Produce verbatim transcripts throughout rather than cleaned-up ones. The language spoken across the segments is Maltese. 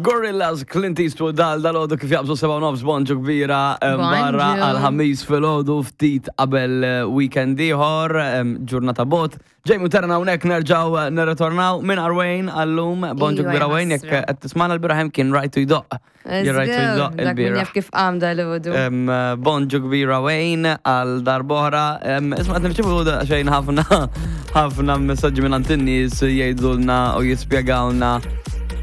Gorillaz, Clint Eastwood dal dal-għodu kif jaqbżu seba' nofs, bonġu kbira em, barra Bonġu. għal-ħamis filgħodu, ftit qabel eh, weekend ieħor, em, ġurnata bot. Ġejmu terna hawnhekk, nerġgħu eh, nirritornaw minn Arwejn għallum, bonġu Iva, kbira Wayne, jekk ħasra. qed tismana, l-bieraħ hemm kien rajtu jdoqq. Jien rajtu jdoqq Dak min il-bieraħ. jaf kif qam dal-għodu. Em, Bonġu kbira Wayne għal darb'oħra. Em, Isma', qed nirċievu xejn ħafna ħafna messaġġi minn għand in-nies jgħidulna u jispjegawna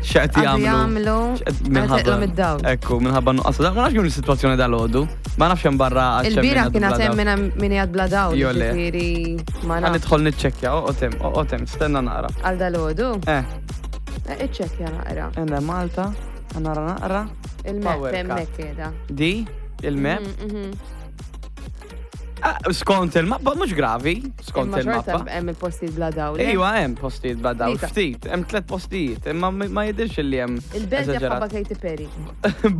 x'qed Għadu jagħmlu. jagħmlu X'qed meta teqlom id-dawl. Ekku, minħabba nuqqas. Ma nafx kif is-sitwazzjoni dal-għodu. Ma nafx hemm barra għax hemm Il-bieraħ min kien għadu bla għatem dawl. minna min jgħad bla dawl. Jo, le. Ġifieri ma Ħa nafx. nidħol niċċekkja, oqgħod oqgħod hemm, stenna naqra. Għal dal-għodu? Eh, Eh, Iċċekkja naqra. Enda Malta, ħa nara naqra. Il-map Power cut. hemmhekk qiegħda. Di, il-map. Mhm, mhm. Ah, skont il-mappa, mhux gravi, skont Imma xorta il-mappa. hemm il-postijiet bla dawl, eh? Iwa, hemm postijiet bla dawl, Tlieta. ftit, hemm tliet postijiet, imma ma ma jidhirx li hemm Il-belt eżaġerat. jafħabba Katy Perry.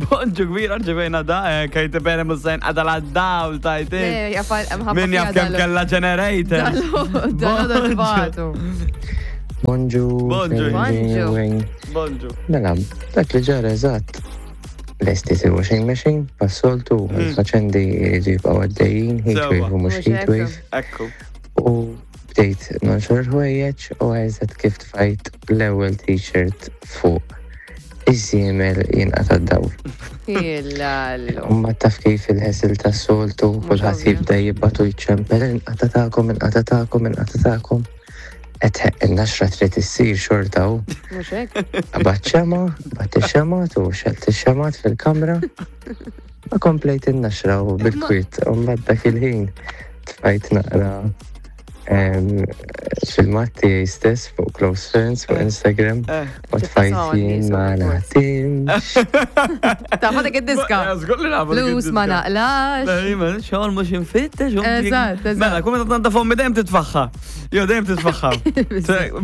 Bonġu kbira, rċevejna da, eh, Katy Perry musajn għadha la dawl tajtin. Le, jafal mħabba Min jaf fiha kemm dal- kella generator. Dal-għodu tbatu. Bonġu. Bonġu. Bonġu. Bonġu. Bonġu. Mela, dak li ġara eżatt. Lesti il-washing machine, passoltu, il-faċendi jridu jibqgħu għaddejjin, heatwave u mhux Mhux hekk. heatwave. Ekku. U bdejt nonxor ħwejjeġ u eżatt kif tfajt l-ewwel t-shirt fuq iż-żiemel jinqata' d-dawl. Illallu. U ma taf kif il-ħesil tas-soltu, kulħadd ovvja. jibda jibgħatu jċempel, "Inqata' tagħkom, inqata' tagħkom, inqata' tagħkom." Qed in-naxra trid issir xorta u Mhux hekk? Qabadt xema, qabadt ix-xemat u xelt ix-xemat fil-kamra. Ma komplejt in-naxra u bil-kwiet, u mbagħad dak il-ħin tfajt naqra em, filmat tiegħi stess fuq Close Friends fuq Instagram Eh. u tfajt "Jien ma naħdimx." Tafa dik id-diska. Żgur li nafu dik Flus ma id-diska. naqlax. Ejma, xogħol mhux infittex. Eżatt, eżatt. Mela, kum meta tnaddaf ommi dejjem titfaħħa. Jo, dejjem titfaħħa.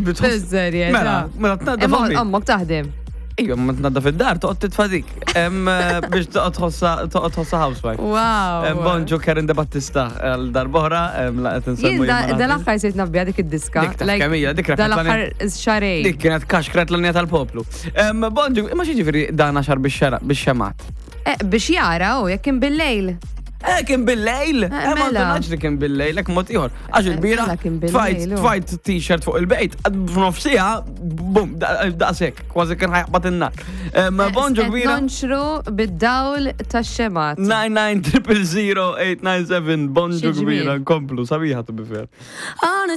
Bizzerja. Mela, mela tnaddaf ommi. Ommok taħdem. Ejja, ma tnaddaf id-dar, toqgħod titfa' dik. Em, eh, Biex toqgħod tħossa toqgħod tħossa housewife. Wow. Em, Bonġu Karen De Battista għal darb'oħra, em, la qed insemmu Jien jien ma naħdimx. dal-aħħar sirt nafbiha dik id-diska. Dik taf kemm hija, dik rebħet Dal-aħħar xarej. Dik kienet kaxkret l-linja tal-poplu. Em, Bonġu, imma xi ġifieri dan għaxar bix-xemat? Eh, Biex jara, u jekk kien bil-lejl. Eh, kien bil-lejl! Eh, Eh, ma mela. ndunax li kien bil-lejl, ek mod ieħor. Għax il-bieraħ, mela kien bil-lejl, tfajt, u. tfajt t-shirt fuq il-bejt, f'nofsija, bum, daqsek, kważi kien ħa jaqbad in-nar. Em, Bonġu Eh, kbira. Nonxru bid-dawl tax-xemat. nine nine zero zero zero eight nine seven, bonġu Xi ġmiel. kbira, nkomplu, sabiħa to be fair.